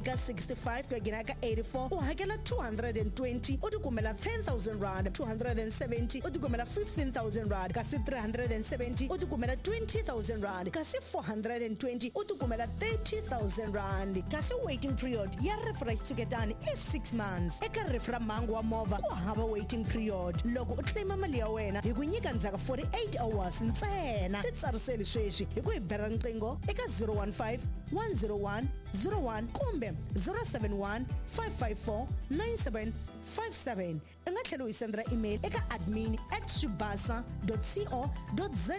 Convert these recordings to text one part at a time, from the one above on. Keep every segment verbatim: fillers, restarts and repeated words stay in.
Eka sixty-five ku ya nghena ka eighty-four u hakela two hundred and twenty u tikumela ten thousand rand, two hundred and seventy u tikumela fifteen thousand rand, kasi three hundred and seventy u tikumela twenty thousand rand, kasi four hundred and twenty u tikumela thirty thousand rand. Kasi waiting period ya rifu ra xitshuketani i six months. Eka rifu ra mhangu wa movha ku hava waiting period. Loko u claima mali ya wena hi ku nyika ndzhaku forty-eight hours ntsena. Titsariseli sweswi hi ku hi bela riqingho eka zero one five, one zero one, zero one kumbe zero seven one, five five four, nine seven five seven. U nga tlhela u hi sendela email eka admin at swibasa dot co dot za.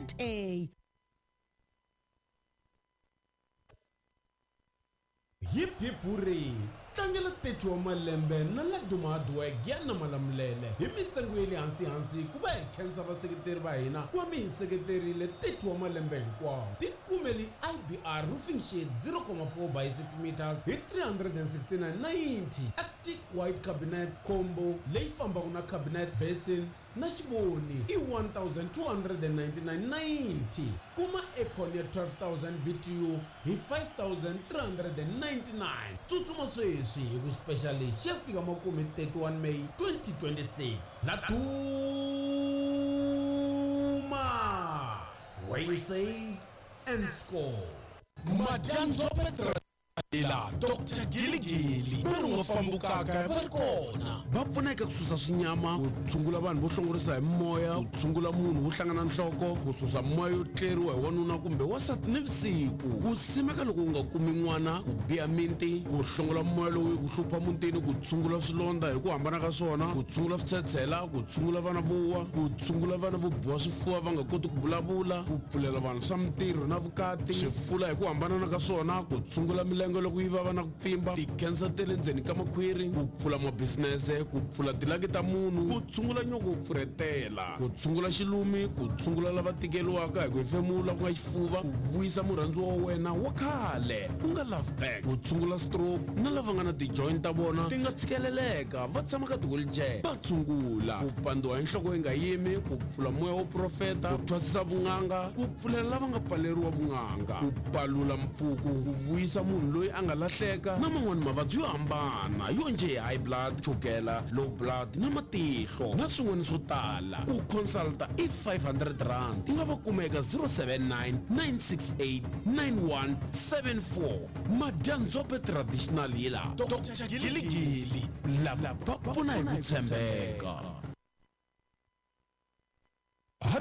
Hip hip hooray! Tlangela thirty wa malembe na Laduma Hardwork ya na Malamulele hi mintsengo ya le hansi hansi ku va hi khensa vaseketeri va hina ku va mi hi seketerile thirty wa malembe hinkwawo. Tikumeli I B R roofing sheet zero comma four by six meters hi three hundred and sixty-nine ninety. Arctic white cabinet combo leyi fambaka na cabinet basin na xivoni i one thousand two hundred and ninety-nine ninety. Kuma aircon ya twelve thousand B T U hi five thousand three hundred and ninety-nine. Tsutsuma sweswi hi ku special lexi ya fika makume thirty-one May twenty twenty-six. Laduma, where you save and score. Madyandzo Petro ila Doctor Giligili va ri nga fambukaka va ri kona va pfuna eka ku susa swinyama, ku tshungula vanhu vo hlongorisa hi moya, ku tshungula munhu wo hlangana nhloko, ku susa moya yo tleriwa hi wanuna kumbe wansati nivusiku, ku simeka loko u nga kumi n'wana, ku biha minti, ku hlongola moya lowu yi ku hlupha mutini, ku tshungula swilondza hi ku hambana ka swona, ku tshungula switshetshela, ku tshungula vana vo wa, ku tshungula vana vo biwa swifuva va nga koti ku vulavula, ku pfulela vanhu swa mintirho na vukati, swifula hi ku hambana ka swona, ku tshungula milenge loko yi vava na ku pfimba, ti-cancer ta le ndzeni ka makhwiri, ku pfula mabisinese, ku pfula tilaki ta munhu, ku tshungula nyoko wo pfurhetela, ku tshungula xilumi, ku tshungula lava tikeriwaka hi ku hefemula ku nga xifuva, ku vuyisa murhandziwa wa wena wa khale ku nga love back, ku tshungula stroke na lava nga na ti-joint ta vona ti nga tshikeleleka va tshama ka ti-wheelchair va tshungula, ku pandziwa hi nhloko yi nga yimi, ku pfula moya wo profeta, ku thwasisa vun'anga, ku pfulela lava nga pfaleriwa vun'anga, ku palula mpfuku, ku vuyisa munhu loyi a nga lahleka na man'wani mavabyi yo hambana yo njhe hi high blood, chukela, low blood na matihlo na swin'wana swo tala. Ku consulta i five hundred rand. U nga va kuma eka zero seven nine, nine six eight, nine one seven four. Madyandzhope Traditional Healer Doctor Giligili lava va pfuna hi ku tshembeka.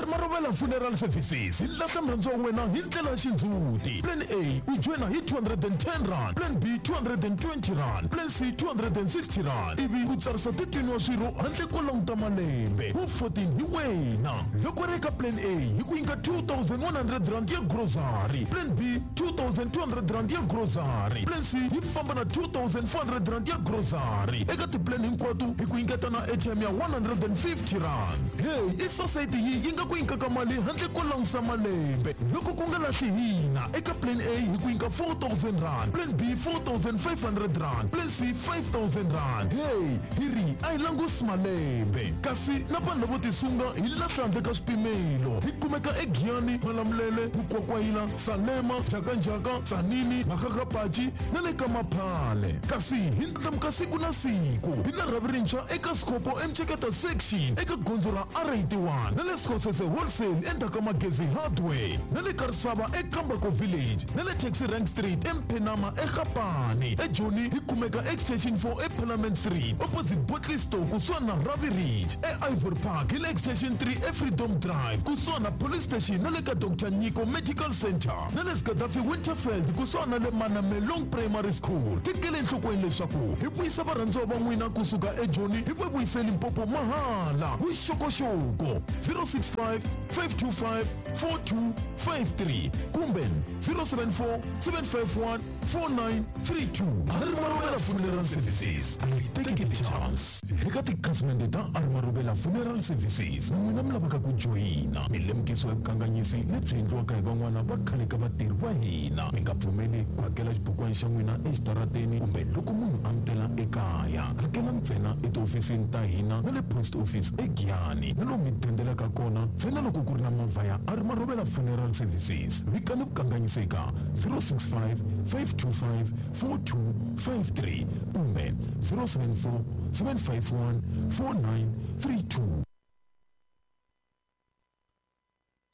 Marobela Funeral Services hi lahla murhandziwa wa wena hi ndlela ya xindzhuti. Plan A u joyina hi two hundred and ten rand, Plan B two hundred and twenty rand, Plan C two hundred and sixty rand, ivi u tsarisa thirteen wa swirho handle ko languta malembe. Wu fourteen hi wena. Loko ri eka Plan A hi ku nyika two thousand one hundred rand ya grocery, Plan B two thousand two hundred rand ya grocery, Plan C yi famba na two thousand four hundred rand ya grocery. Eka ti-plan hinkwato hi ku nyiketa na airtime ya one hundred and fifty rand. Hey, i society yi yi nga ku nyikaka mali handle ko langusa malembe. Loko ku nga lahli hina eka Plan A hi ku nyika four thousand rand, Plan B four thousand five hundred rand, Plan C five thousand rand. Hey, hi ri a hi langusi malembe. Kasi na vanhu lavo tisunga hi lahla handle ka swipimelo. Hi kumeka eGiyani, Malamulele, Mukwakwayila, Salema, Njhakanjhaka, Tzaneen, Makgakgapachi na le ka Maphale. Kasi hi ndlandlamuka siku na siku. Hi na rhavi rintshwa eka Sikopo eMtsheketa section eka gondzo ra R eighty-one na le Sekgosese Wholesale endzhaku ka Magezi Hardware na le Karisava eKambako Village na le Taxi Rank Street eMphenama eGapane. eJoni hi kumeka Extension four eParliament Street opposite Botley Store kusuhani na Ravi Ridge. E-Ivory Park hi le Extension three eFreedom Drive kusuhani na Police Station na le ka Doctor Nyiko Medical Center na le Gaddafi Winterfeld kusuhani na le Manamelong Primary School. Tekele enhlokweni leswaku hi vuyisa varhandziwa va n'wina kusuka eJoni hi va vuyise Limpopo mahala. Vuxokoxoko zero six five, five two five, four two five three kumbe zero seven four, seven five one, four nine three two. Marobela Funeral Services, take the chance. Eka tikhasimende ta Marobela Funeral Services na n'wina mi lavaka ku joyina mi lemukisiwa hi vukanganyisi lebyi endliwaka hi van'wana va khale ka vatirhi va hina. Mi nga pfumeli ku hakela xibukwana xa n'wina exitarateni kumbe loko munhu a mi tela ekaya. Hakela ntsena etihofisini ta hina na le post office eGiyani na lomu mi dendelaka kona ntsena loko ku ri na movha ya Marobela Funeral Services. Vikani vukanganyisi eka zero six five, five two five four two five three kumbe zero seven four seven five one four nine three two.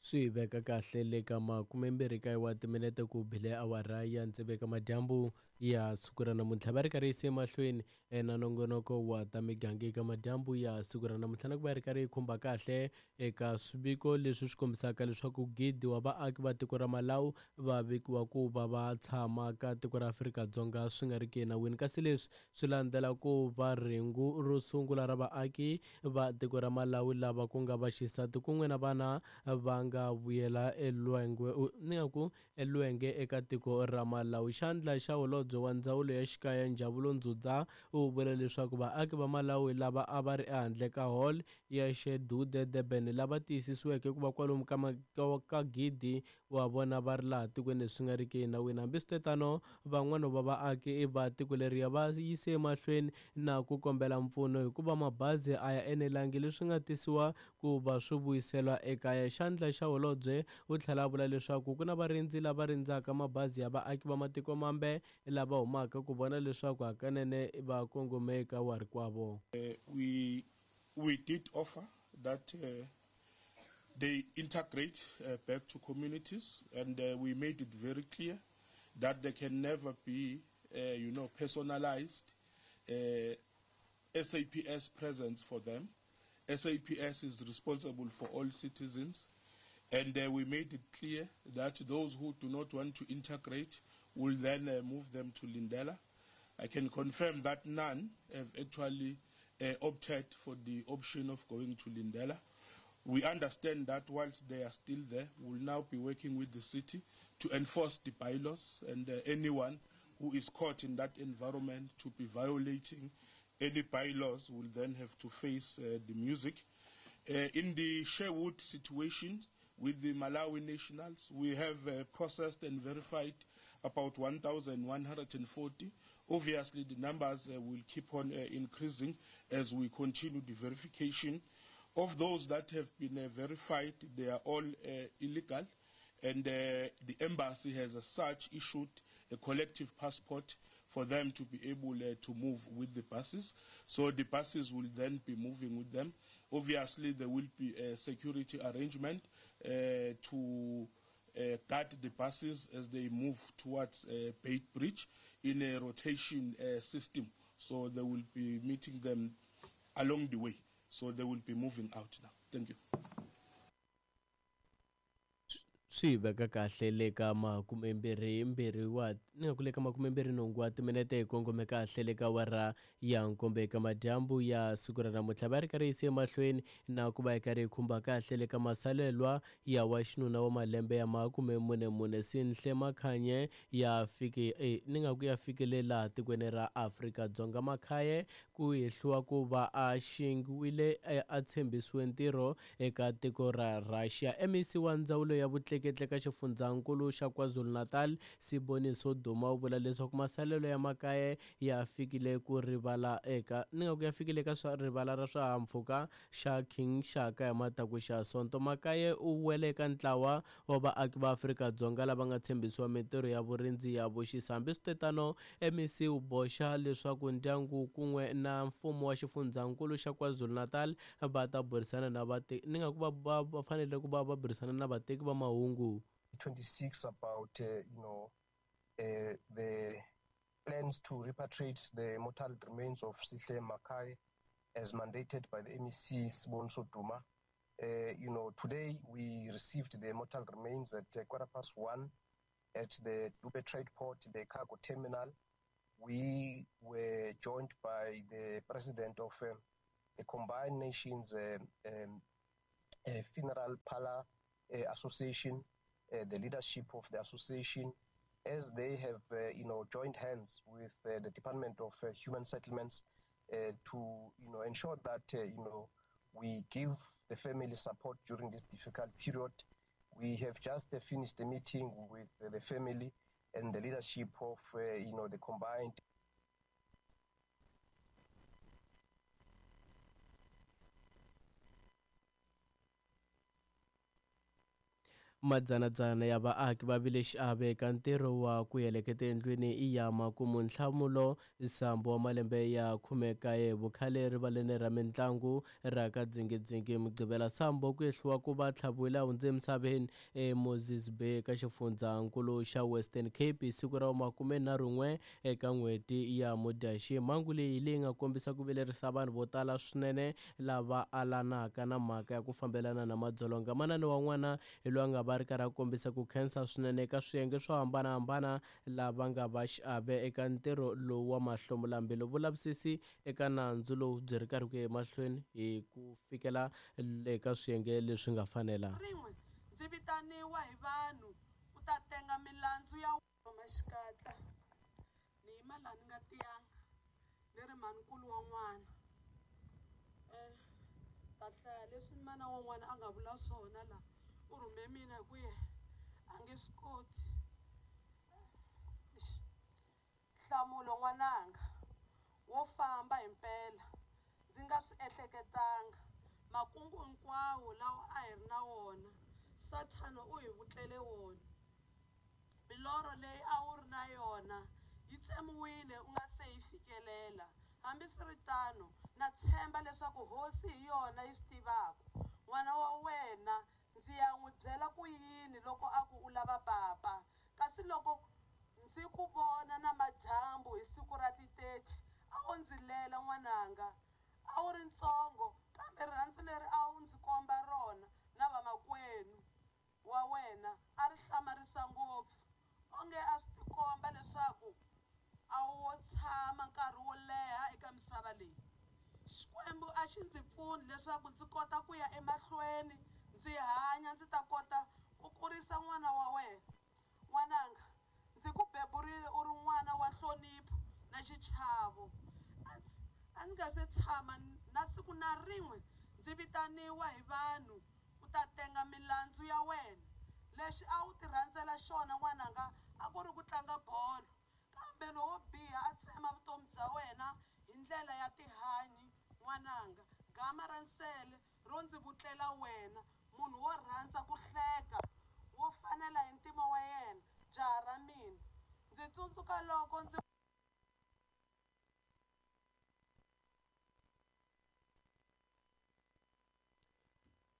Swi veka kahle le ka makumembirhi kaye wa timinete ku bile awara ya tsevu madyambu ya siku ra namuntlha. Va ri karhi yise emahlweni na nongonoko wa ta miganga eka madyambu ya siku ra namuntlha, na ku va ri karhi yi khumba kahle eka swiviko leswi swi kombisaka leswaku gidi wa vaaki va tiko ra Malawi va vekiwa ku va va tshama ka tiko ra Afrika-Dzonga swi nga ri ki enawini. Kasi leswi swi landzela ku va rhengu ro sungula ra vaaki va tiko ra Malawi lava ku nga vaxisati kun'we na vana va nga vuyela elwengwe ni nga ku elwenge eka tiko ra Malawi. Xandla xa holobye wa ndzawulo ya xikaya Njabulo Ndzudza u vula leswaku vaaki va Malawi lava a va ri ehandle ka hall ya Shedude Durban lava tiyisisiweke ku va kwalomu ka ka gidi wa vona va ri laha tikweni leswi nga riki enawini. Hambiswiritano, van'wana va vaaki va tiko leriya va yise emahlweni na ku kombela mpfuno hikuva mabazi a ya enelangi, leswi nga tisiwa ku va swi vuyisela ekaya. Xandla xa holobye u tlhela a vula leswaku ku na varindzi lava rindzaka mabazi ya vaaki va matiko mambe lava humaka ku vona leswaku hakanene va kongome eka warikwavo. Uh, we we did offer that uh, they integrate uh, back to communities, and uh, we made it very clear that they can never be uh, you know personalized uh, S A P S presence for them. S A P S is responsible for all citizens, and uh, we made it clear that those who do not want to integrate will then uh, move them to Lindela. I can confirm that none have actually uh, opted for the option of going to Lindela. We understand that whilst they are still there, we'll now be working with the city to enforce the bylaws, and uh, anyone who is caught in that environment to be violating any bylaws will then have to face uh, the music. Uh, in the Sherwood situation with the Malawi nationals, we have uh, processed and verified about one thousand one hundred forty. Obviously, the numbers uh, will keep on uh, increasing as we continue the verification. Of those that have been uh, verified, they are all uh, illegal, and uh, the embassy has as such issued a collective passport for them to be able uh, to move with the buses. So the buses will then be moving with them. Obviously, there will be a security arrangement uh, to uh, guard the buses as they move towards uh, Beit Bridge in a rotation uh, system. So they will be meeting them along the way. So they will be moving out now. Thank you. Swi veka kahle le ka makumembirhi mbirhi wa ni nga ku le ka makumembirhi nhungu wa timinete hi kongome kahle le ka awara ya nkombo eka madyambu ya siku ra namuntlha. Va ri karhi yise emahlweni na ku va hi karhi hi khumba kahle le ka masalelwa ya wa xinuna wa malembe ya makume mune mune Sinhle Makhanye ya fike eh, ni nga ku ya fikele laha tikweni ra Afrika-Dzonga. Makhaye ku hehliwa ku va a xingiwile a tshembisiwe ntirho eka tiko ra Russia. M E C wa ndzawulo ya vutleketli ka xifundzankulu xa KwaZulu-Natal Siboniso Duma u vula leswaku masalelo ya Makaye ya fikile ku rivala eka ni nga ku ya fikile ka swa rivala ra swihahampfhuka xa King Shaka ya mataku xa Sonto. Makaye u wele eka ntlawa wa vaaki va Afrika-Dzonga lava nga tshembisiwa mintirho ya vurindzi ya vuxisa. Hambiswiritano, M E C u boxa leswaku ndyangu kun'we na mfumo wa xifundzankulu xa KwaZulu-Natal va ta burisana na vateki ni nga ku va va fanele ku va va burisana na vateki va mahungu. twenty-six about uh, you know uh, the plans to repatriate the mortal remains of Sihle Makai as mandated by the M E C Siboniso Duma. Uh, you know, today we received the mortal remains at uh, quarter past one at the Dube Trade Port, the cargo terminal. We were joined by the president of uh, the Combined Nations uh, um, uh, Funeral Parlor uh, Association, uh, the leadership of the association, as they have, uh, you know, joined hands with uh, the Department of uh, Human Settlements uh, to, you know, ensure that, uh, you know, we give the family support during this difficult period. We have just uh, finished the meeting with uh, the family and the leadership of, uh, you know, the combined Madzanadzana ya vaaki va vile xiave eka ntirho wa ku heleketa endlwini ya makumu Nhlamulo Sambo wa malembe ya khume kaye vukhale rivaleni ra mintlangu ra ka Dzingidzingi Mugqivela. Sambo ku ehliwa ku va tlhaviwile a hundze emisaveni eMoses Bay ka xifundzankulu xa Western Cape hi siku ra makumenharhun'we eka n'hweti ya Mudyaxihi. Mhangu leyi leyi nga kombisa ku vilerisa vanhu vo tala swinene lava alanaka na mhaka ya ku fambelana na madzolonga. Manana wa n'wana hi loyi a nga va ri karhi a kombisa ku khensa swinene eka swiyenge swo hambanahambana lava nga va xiave eka ntirho lowu wa mahlomulambilu. Vulavisisi eka nandzu lowu byi ri karhi ku ya emahlweni hi ku fikela eka swiyenge leswi nga fanela. Rin'we ndzi vitaniwa hi vanhu ku ta tenga milandzu ya maxikatla ni yima laha ni nga tiyanga ni ri mhanikulu wa n'wana um ta hlaya leswi mana wa n'wana a nga vula swona laha. U rhume mina hi ku ye a nge swi koti. Nhlamulo n'wananga wo famba hi mpela ndzi nga swi ehleketanga makungu hinkwawo lawa a hi ri na wona Sathana u hi vutlele wona. Milorho leyi a wu ri na yona yi tsemiwile u nga se yi fikelela. Hambiswiritano na tshemba leswaku hosi hi yona yi swi tivaka. N'wana wa wena ndzi ya n'wi byela ku yini loko a ku u lava papa, kasi loko ndzi ku vona na madyambu hi siku ra ti thirty a wu ndzi lela n'wananga. A wu ri ntsongo kambe rirhandzu leri a wu ndzi komba rona na vamakwenu wa wena a ri hlamarisa ngopfu. Onge a swi tikomba leswaku a wu wo tshama nkarhi wo leha eka misava leyi. Xikwembu a xi ndzi pfuni leswaku ndzi kota ku ya emahlweni ndzi hanya ndzi ta kota ku kurisa n'wana wa wena. N'wananga ndzi ku beburile u ri n'wana wa nhlonipho na xichavo. A ndzi nga se tshama na siku na rin'we ndzi vitaniwa hi vanhu ku ta tenga milandzu ya wena. Lexi a wu ti rhandzela xona n'wananga a ku ri ku tlanga bolo, kambe lowo biha a tsema vutomi bya wena hi ndlela ya tihanyi. N'wananga gama ra nsele ro ndzi vutlela wena, munhu wo rhandza ku hleka wo fanela hi ntima wa yena, jaha ra mina. Ndzi tsundzuka loko ndzi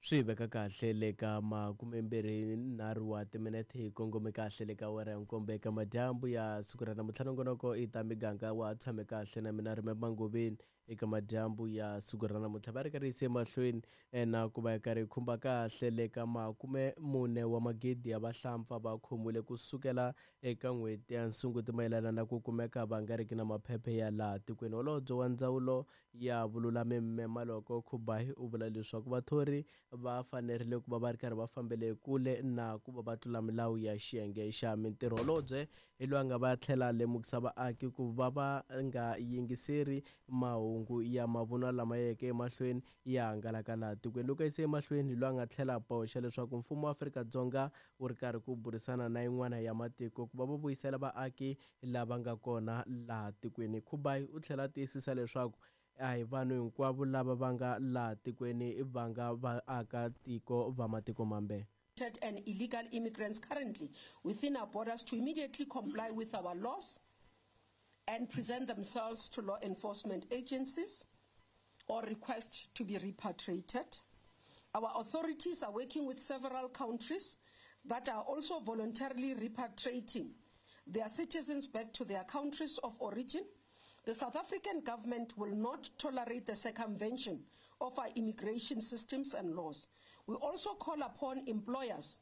swi veka kahle le ka makumembirhi nharhu wa timinete hi kongome kahle le ka awara ya nkombo eka madyambu ya siku ra namuntlha. Nongonoko i ta miganga wa tshame kahle na mina Rime Mangoveni eka madyambu ya siku ra namuntlha. Va ri karhi yise emahlweni na ku va yi karhi yi khumba kahle le ka makume mune wa magidi ya vahlampfa va khomiwile ku sukela eka n'hweti ya Sunguti mayelana na ku kumeka va nga riki na maphephe ya laha tikweni. Holobye wa ndzawulo ya vululami Mme Maloko Khubayi u vula leswaku vathori va fanerile ku va va ri karhi va fambele kule na ku va va tlula milawu ya xiyenge xa mintirho. Holobye hi loyi a nga va tlhela lemukisa vaaki ku va va nga yingiseri mahungu ya mavunwa lama yeke emahlweni ya hangalaka laha tikweni. Loko a yise emahlweni hi loyi a nga tlhela boxa leswaku mfumo wa Afrika-Dzonga wu ri karhi ku burisana na yin'wana ya matiko ku va va vuyisela vaaki lava nga kona laha tikweni. Khubayi u tlhela tiyisisa leswaku a hi vanhu hinkwavo lava va nga laha tikweni va nga vaaka tiko va matiko mambe. And illegal immigrants currently within our borders to immediately comply with our laws and present themselves to law enforcement agencies or request to be repatriated. Our authorities are working with several countries that are also voluntarily repatriating their citizens back to their countries of origin. The South African government will not tolerate the circumvention of our immigration systems and laws. We also call upon employers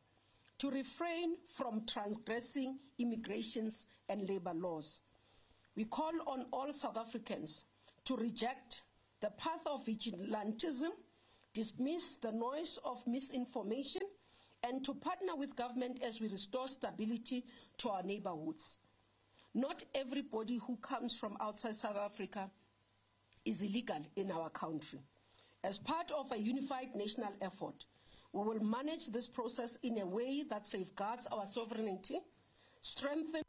to refrain from transgressing immigrations and labor laws. We call on all South Africans to reject the path of vigilantism, dismiss the noise of misinformation, and to partner with government as we restore stability to our neighborhoods. Not everybody who comes from outside South Africa is illegal in our country. As part of a unified national effort, we will manage this process in a way that safeguards our sovereignty, strengthens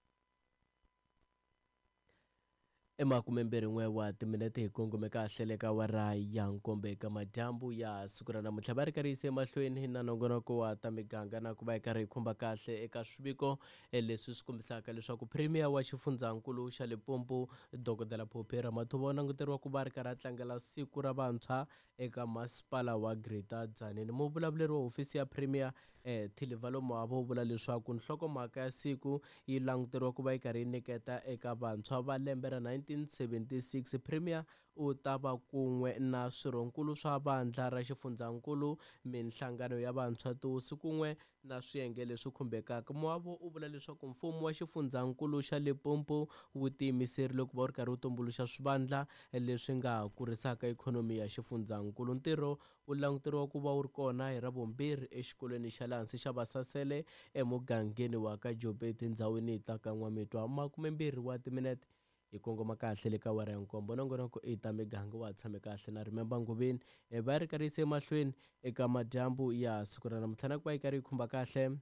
Emakumembirhi n'we wa timinete hi kongome kahle le ka awara ya nkombo eka madyambu ya siku ra namuntlha. Va ri karhi yise emahlweni na nongonoko wa ta miganga na ku va hi karhi hi khumba kahle eka swiviko leswi swi kombisaka leswaku Premier wa xifundzankulu xa Limpopo Dokodela Phophi Ramathuba u languteriwa ku va ri karhi a tlangela siku ra vantshwa eka masipala wa Greater Tzaneen. Muvulavuleri wa hofisi ya Premier eh Thilivhalo Moabo u vula leswaku nhlokomhaka ya siku yi languteriwa ku va yi karhi yi nyiketa eka vantshwa va lembe ra nineteen seventy-six. Premier u ta va kun'we na swirhonkulu swa vandla ra xifundzankulu, minhlangano ya vantshwa, tihosi kun'we na swiyenge leswi khumbekaka. Moabo u vula leswaku mfumo wa xifundzankulu xa Limpopo wu tiyimiserile ku va wu ri karhi wu tumbuluxa swivandla leswi nga kurisaka ikhonomi ya xifundzankulu. Ntirho wu languteriwa ku va wu ri kona hi Ravumbirhi exikolweni xa le hansi xa Vasasele emugangeni wa ka Jobe etindhawini ta ka N'wamitwa. Makumembirhi wa timinete hi kongoma kahle le ka awara ya nkombo. Nongonoko i ta miganga wa tshame kahle na Remember Ngobeni. Va ri karhi yise emahlweni eka madyambu ya siku ra namuntlha na ku va yi karhi yi khumba kahle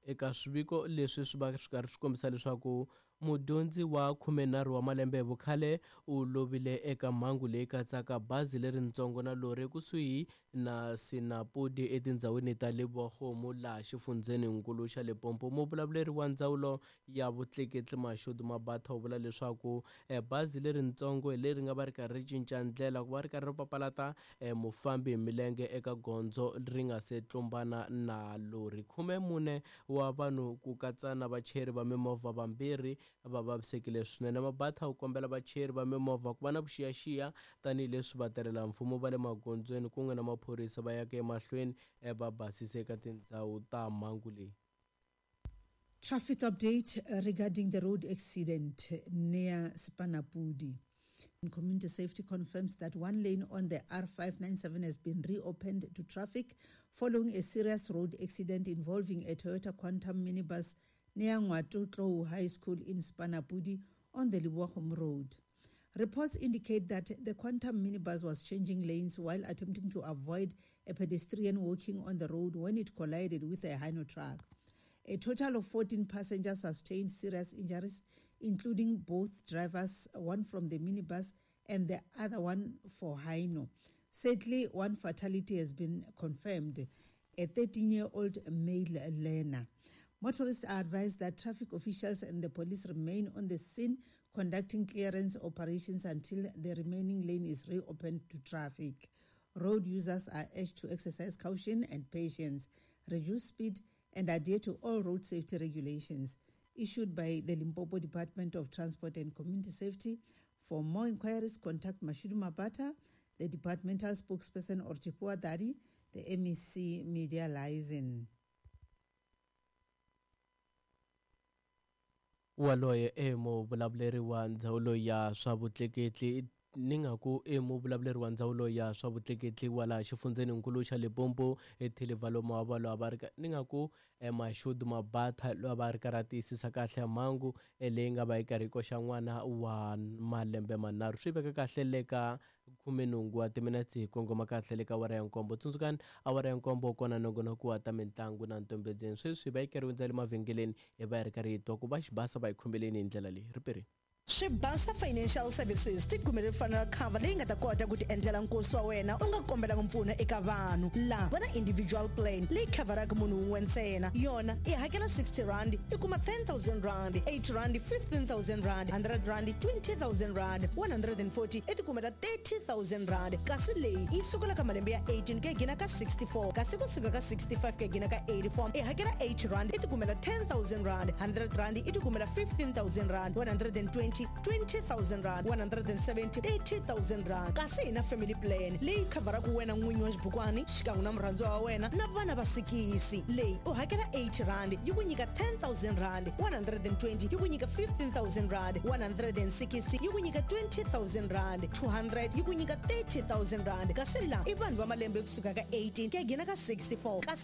eka swiviko leswi swi va swi karhi swi kombisa leswaku mudyondzi wa khumenharhu wa malembe hi vukhale u lovile eka mhangu leyi katsaka bazi leritsongo na lori ekusuhi na Sinapudi etindhawini ta Lebogomo laha xifundzheninkulu xa Limpopo. Muvulavuleri wa ndzawulo ya vutleketli Mashudu Mabatha u vula leswaku bazi leritsongo hi leri nga va ri karhi ri cinca ndlela ku va ri karhi ri papalata mufambi hi milenge eka gondzo ri nga se tlumbana na lori. Khume mune wa vanhu ku katsa na vachayeri va mimovha vambirhi va vavisekile swinene. Mabatha u kombela vachayeri va mimovha ku va na vuxiyaxiya tanihileswi vatirhela mfumo va le magondzweni kun'we na maphorisa va yaka emahlweni va basisa eka tindhawu ta mhangu leyi. Traffic update regarding the road accident near Spanapudi. Community Safety confirms that one lane on the R five ninety-seven has been reopened to traffic following a serious road accident involving a Toyota Quantum minibus near Ngwatotlou High School in Spanapudi on the Liwahom Road. Reports indicate that the Quantum minibus was changing lanes while attempting to avoid a pedestrian walking on the road when it collided with a Hino truck. A total of fourteen passengers sustained serious injuries, including both drivers, one from the minibus and the other one for Hino. Sadly, one fatality has been confirmed, a thirteen-year-old male learner. Motorists are advised that traffic officials and the police remain on the scene conducting clearance operations until the remaining lane is reopened to traffic. Road users are urged to exercise caution and patience, reduce speed, and adhere to all road safety regulations issued by the Limpopo Department of Transport and Community Safety. For more inquiries, contact Mashudu Mabata, the departmental spokesperson, or Chipua Dadi, the M E C Media Liaison. Waloye e muvulavuleri wa ndzawulo ya swa vutleketli ni nga ku i muvulavuleri wa ndzawulo ya swa vutleketli wa laha xifundzheninkulu xa Limpopo eThilivhalo Moabo loyi a va ri ni nga ku Mashudu Mabatha loyi a va ri karhi a tiyisisa kahle mhangu leyi nga va yi karhi yi koxa n'wana wa malembe manharhu. Swi veka kahle le ka khumenhungu wa timinetse hi kongoma kahle le ka awara ya nkombo. Tsundzukani awara ya nkombo kona nongonoko wa ta mitlangu na ntombedzeni. Sweswi va yi karhi hundza le mavhengeleni hi va hi ri karhi hi twa ku va xibasa va yi khumbeleni hi ndlela leyi ripiri. Swibasa Financial Services ti kumele funeral cover leyi nga ta kota ku ti endlela nkosi wa wena u nga kombelanga mpfuno eka vanhu. La va na individual plan leyi khavaraka munhu wun'we ntsena. Yona i hakela sixty rand i kuma ten thousand rand, eight rand fifteen thousand rand, hundred rand twenty thousand rand, one hundred and forty i ti kumela thirty thousand rand. Kasi leyi yi sukela ka malembe ya eighteen ku ya gina ka sixty-four, kasi kusuka ka sixty-five ku ya gina ka eighty-four i hakela eight rand i ti kumela ten thousand rand, hundred rand i ti kumela fifteen thousand rand, one hundred and twenty twenty thousand rand, one hundred and seventy thirty thousand rand. Kasi hi na family plan leyi khavaraka wena n'winyi wa xibukwani xikan'we na murhandziwa wa wena na vana va sikisi. Leyi u hakela eight rand yi ku nyika ten thousand rand, one hundred and twenty yi ku nyika fifteen thousand rand, one hundred and sixty yi ku nyika twenty thousand rand, two hundred yi ku nyika thirty thousand rand. Kasi la i vanhu va malembe kusuka ka eighteen ku ya gina ka sixty-four, kasi